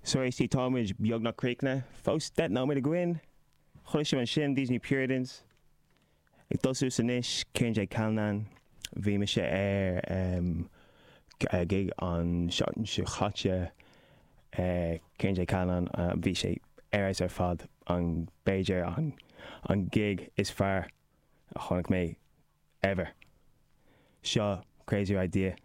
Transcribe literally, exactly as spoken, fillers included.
So éistí táimid beagnach críochnaithe, fós deich nóiméad againn, Chuala sibh ansin These New Puritans. Ag tosú anois Kieran J Callinan bhí mise ar um, gig an seachtain seo chaite uh, Kieran J Callinan uh, bhí sé ar ar fad an b'fhéidir an, an gig is fearr a chonaic mé ever. Seo crazy idea.